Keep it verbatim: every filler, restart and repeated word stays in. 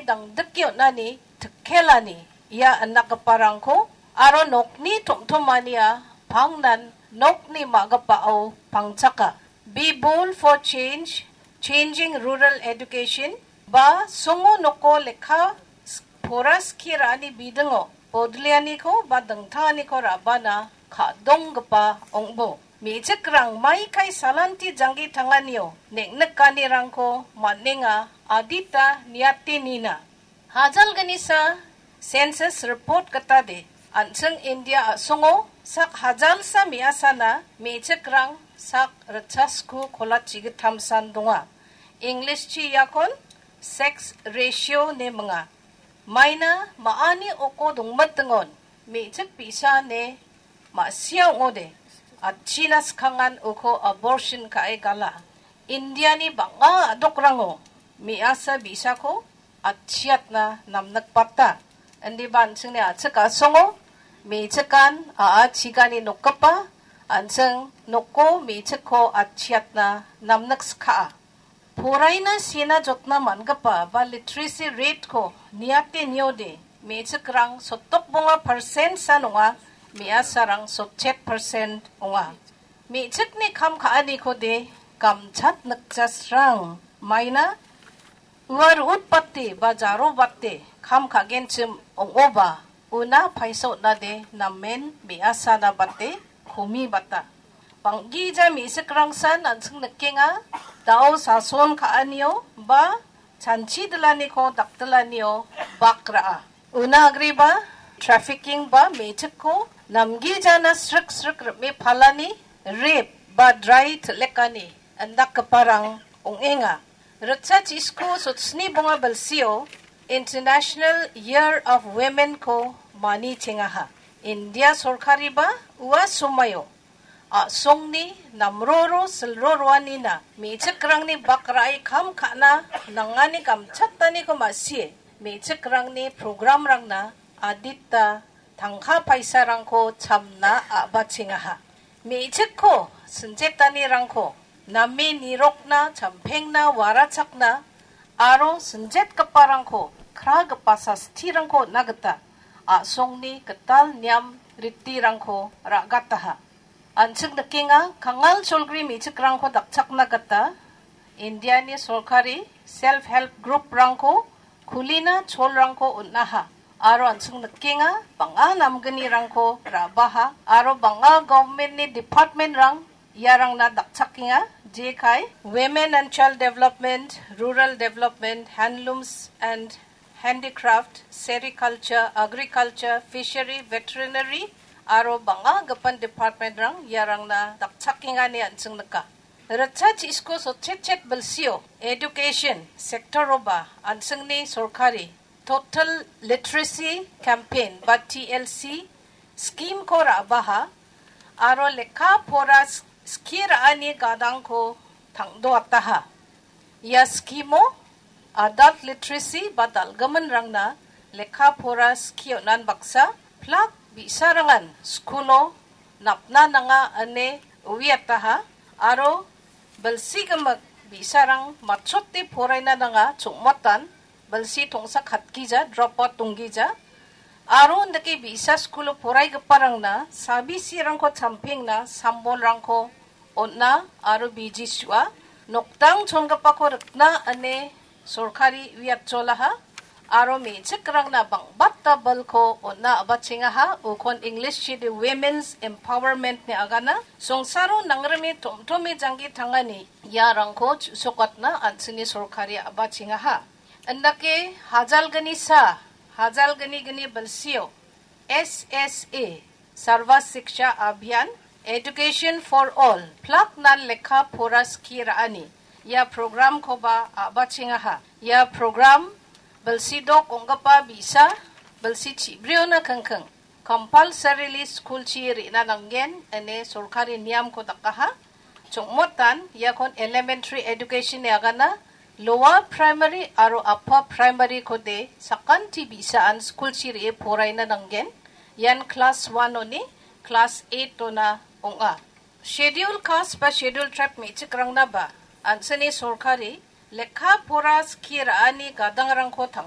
dangdike on·ani tikkelani ia indakgiparangko aro nokni tom·tomania pangnan nokni ma·gipao pangchaka. Be bold for change, changing rural education, ba songo noko lekka s-, pora skie ra·ani bidingo bodleaniko ba dingtanganiko ra·bana ka·donggipa ong·bo. Me·chikrang maikai salanti janggi tanganio neng·nikanirangko man·enga, adita niate nina. Hajalgnisa census report gitade, an·ching India a·songo sak hajalsa me·asana me·chikrang sak ritchasku kolachi gittamsan donga. Englishchi iakon sex ratio ine minga. Maina ma·ani oko dongmitingon me·chik bi·sa ine ma·sia ong·ode, atchina skangan uko abortion ka·e gala. Indiani bang·a a·dokrango me·asa bi·sako atchiatna namnikbata. Indiba an·chingni a·chik a·songo me·chikan a·a chigani nokgipa, an·ching noko me·chikko atchiatna namnikska·a. Poraina sena jotna man·gipa ba literacy rate-ko niate niode, me·chikrang sotokbonga percent-san ong·a, me·asarang sotchet percent ong·a. Me·chikni kam ka·anikode gamchat nikjasrang maina ua ro·otbate ba jarobate kam ka·genchim ong·oba, una paisa on·ade namen me·asana bate komibata. Bang·gija me·chikrangsan an·ching nikenga, dao sason ka·anio ba chanchi dilaniko dakdilanio bak ra·a. Una agreba trafficking ba me·chikko namgijana srik srik rim·e palani, rape ba drai til·lekani indakgiparang ong·enga. Ritchasku sotsni bonga bilsio International Year of Women-ko manichengaha. India sorkariba ua somaio a·songni namroro silro roanina me·chikrangni bak ra·e kam ka·na nangani gamchataniko ma·sie me·chikrangni programrangna adita tangka paisarangko chamna a·bachengaha. Me·chikko sinjetanirangko name nirokna, champengna, warachakna aro sinjetgiparangko kragipa sastirangko on·na gita a·songni gital niam ritirangko ra·gataha. An·ching nikenga, kangal cholgri me·chikrangko dakchakna gita Indiani sorkari self help group-rangko kulina cholrangko on·aha. Aro an·ching nikenga, bang·a namgnirangko ra·baha aro bang·a government-ni department-rang iarangna dakchakenga, jekai Women and Child Development, Rural Development, Handlooms and Handicraft, Sericulture, Agriculture, Fishery, Veterinary aro bang·a gipin department-rang iarangna dakchakenga ine an·ching nika. Ritchasku sotchetchet bilsio education sector-oba an·chingni sorkari Total Literacy Campaign ba T L C scheme-ko ra·baha aro lekka pora s-, skie ra·ani gadangko tangdoataha. Ia scheme-o adult literacy ba dal·giminrangna lekka pora skie on·an baksa plak bi·sarangan skulo napna nanga ine uiataha aro bilsi gimik bi·sarang matchote poraina nanga chongmatan bilsi tongsa katgija, drop out donggija. Aro indake bi·sa skulo poraigiparangna sabisirangko champengna sambolrangko on·a aro biji su·a. Nokdang chongipako rikna ine sorkari uiatcholaha aro me·chikrangna bang·bata bilko on·a a·bachengaha, ukon English-chide Women's Empowerment ine agana. Songsaro nangrime tom·tome janggi tangani iarangko chu·sokatna an·chingni sorkari a·bachengaha. Indake hajalgnisa, hajalgnigni bilsio S S A, Sarva Shiksha Abhiyan, Education for All, plak nan lekka pora skie ra·ani ia program-koba a·bachengaha. Ia program bilsi dok ong·gipa bi·sa, bilsi chibriona kingking, compulsorily school-chi re·na nanggen ine sorkari niamko dakaha. Chongmotan iakon elementary education-ni agana, lower primary aro upper primary-kode sakanti bi·saan school-chi re·e poraina nanggen. Ian class one-oni class eight-ona ong·a. Schedule caste ba schedule tribe me·chikrangnaba an·chingni sorkari lekka pora skie ra·ani gadangrangko tang-